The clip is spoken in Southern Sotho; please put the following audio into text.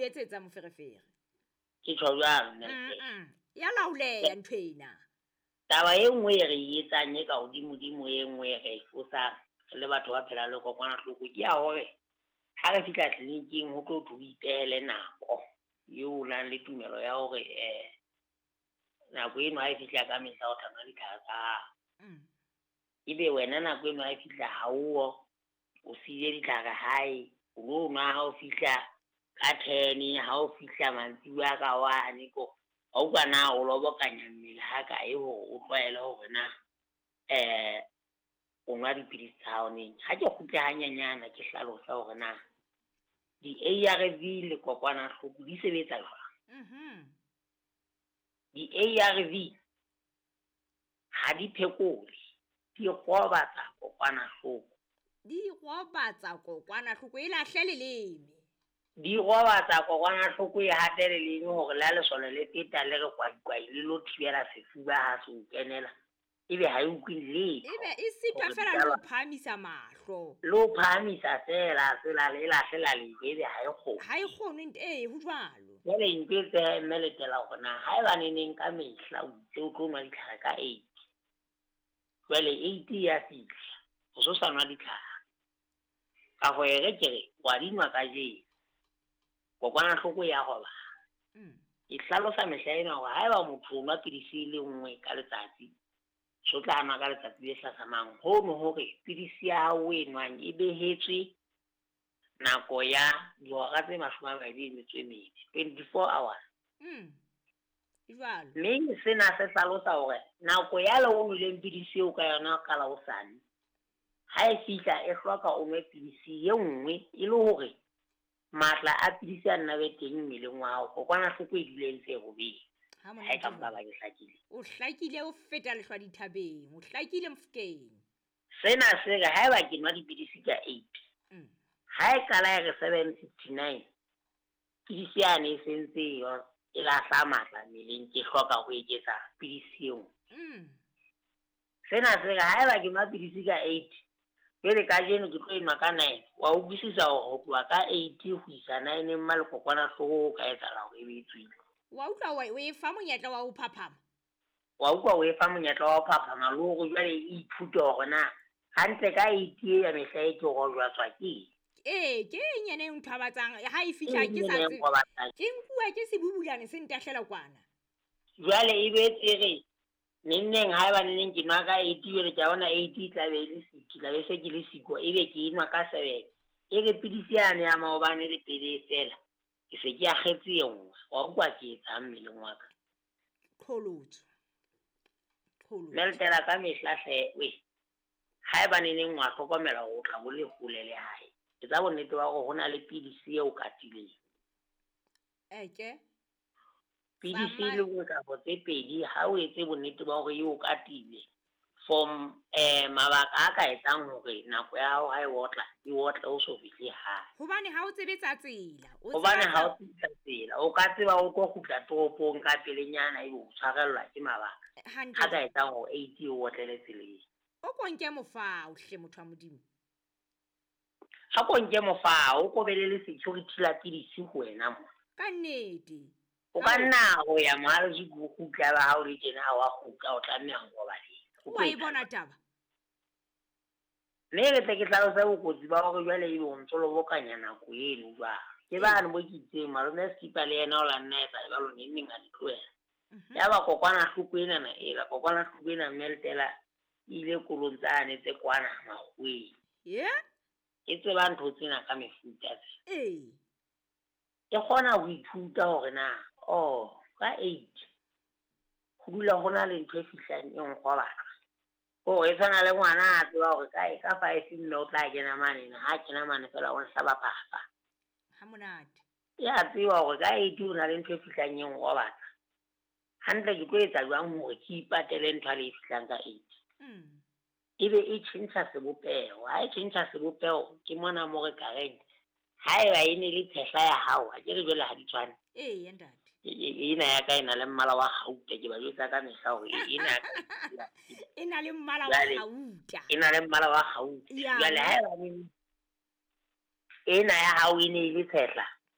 etsetsa moferefere. Ke tjho jwalo, mme. Ya laoleha ntho ena. Taba e nngwe e re e etsang e ka hodimodimo e nngwe e re e fosang re le batho ba phelang le kokwanahloko ke ya hore ha re fihla tleliniking ho tlo thwe o ipehele nako eo o nang le tumelo ya hore nako eno ha e fihla ka mehla o tla nwa ditlhare tsa hao. Ebe wena nako eno ha e fihla ha o o siile ditlhare hae, o lo nwa ha o fihla ka 10, ha o fihla mantsibuya ka 1 ko. Ha utlwa na o lobokanya mmele ha kae hore o tlwaele hore na o nwa dipidisi tsa hao neng. Ha ke kgutle hanyenyana ke hlalosa hore na di-ARV le kokwanahloko di sebetsa jwang. Di-ARV ha di phekole, di robatsa kokwanahloko. Di robatsa kokwanahloko e lahle leleme. Di robatsa kokwanahloko e hate leleme hore la lesole le feta le re kwaikwai le lo thibela sefuba ha se o kenela. Ebe ha e utlwe letho. Ebe e sitwa fela le ho phahamisa mahlo. Le ho phahamisa fela, tsela le lahlela lejwe, ebe ha e kgone. Ha e kgone, ee, ho jwalo. Jwale ntho e tsehe mme letela hore na ha eba neneng ka mehla o itse o tlo nwa ditlhare ka 8. Jwale 8 ya fihla, o so sa nwa ditlhare. Ka ho e re ke re, wa di nwa kajeno. Kokwanahloko ya robala. E hlalosa mehla ena hore haeba motho o nwa pidisi e le nngwe ka letsatsi, so tla nwa ka letsatsi le hlahlamang. Hono hore pidisi ya hao o e nwang e behetswe nako ya dihora tse 24, 24 hours. Jwalo. Mme sena se hlalosa hore nako ya le o nweleng pidisi eo ka yona ka la hosane, ha e fihla e hloka o nwe pidisi e nngwe e le hore matla a pidisi a nna be teng mmeleng wa hao, kokwanahloko e dule e ntse e robetse. Ha Ha e ka monate mpa ba ke hlakile. O hlakile o feta lehlwa dithabeng, o hlakile Mofokeng. Sena se re haeba ke nwa dipidisi ka 8, ha e qala e re 7:59, pidisi yane e sentse e lahla matla mmeleng, ke hloka ho eketsa pidisi e nngwe. Sena se re haeba ke nwa pidisi ka 8, jwale kajeno ke tlo enwa ka 9, wa utlwisisa hore ho tloha ka 8 ho isa 9 mma le kokwanahloko ho ka etsahala hore e be e tswile. Wa utlwa o e fa monyetla wa ho phaphama? Wa utlwa o e fa monyetla wa ho phaphama le hore jwale e ithute hore na hantle ka 8 e ya mehla e ke rojwatswa ke eng. Ee, ke eng yena e nthobatsang ha e fihla Ke ke sa eng tsebe. e nrobatsang? Ke nkuwa ke sebubulane se ntahlela kwana. Jwale e be e re neng haeba neng ke nwa ka 8, jwale ke a bona 8 e tla be e le siko, tla be se ke le siko, ebe ke enwa ka 7. E re pidisi yane ya maobane le pele e fela, ke se ke akgetse e nngwe. Wa utlwa ke etsang mmeleng wa ka? Qholotso. Qholotso. Mme letela ka mehla hle, we. Haeba neneng wa hlokomela hore o tla bo le hole le hae, etsa bonnete ba hore ho na le pidisi eo katileng. Eke. Pidisi e le nngwe kapa tse pedi, ha o etse bonnete ba hore eo katile for mabaka a ka etsang hore nako ya hao ha e otla, e otle o so fihle hae. Hobane ha o tsebe tsa tsela, o Hobane tseba ha o tsebe tsa tsela, o ka tseba o tlo kgutla toropong ka pelenyana ebe o tshwarellwa ke mabaka. Hantle. Ha ka etsang hore 8 e otlele tseleng. O ko nke mofao hle motho wa Modimo. Ha ko nke mofao, o kobele le security la pidisi ho wena mona. Ka nnete. O ka nna ho ya mohalesi ko kgutla ba hao le tjena ha wa kgutla, o tlameha ho robala. Wa e bona taba? Mme re tle ke hlalose bokotsi ba hore jwale ebe o ntso lobokanya nako eno jwalo. Ke bane bo ke itseng, malome Skipa le yena o la nna etsa jwalo neng neng a di tlohela. Yaba kokwanahloko enana ela, kokwanahloko ena mme letela e ile kolong tsane tse kwana makgoweng. Ye? E tseba ntho tsena ka mefuta tse. Ee. E kgona ho ithuta hore na, oh, ka 8 ho dula ho na le ntho e fihlang e nkgobatsa. Hore e tshwana le ngwana a tseba hore ka 5 mme o tla kena mane, ha kena mane fela o nhlaba phafa. Ha monate. Ya tseba hore ka 8 ho na le ntho e fihlang e nkgobatsa. Hantle ke tlo etsa jwang hore ke ipatele ntho e fihlang ka 8? Ebe e tjhentjha sebopeho. Ha e tjhentjha sebopeho, ke mona mo re ka reng haeba e ne le phehla ya hao, ha ke re jwale ha di tshwane. Ee, ntate. Ena ya ka e na le mmala wa kgauta, ke ba jwetsa ka mehla hore ena ya ka e na le mmala wa kgauta. E na le mmala wa kgauta. Jwale haeba ena ya hao e ne e le tshehla,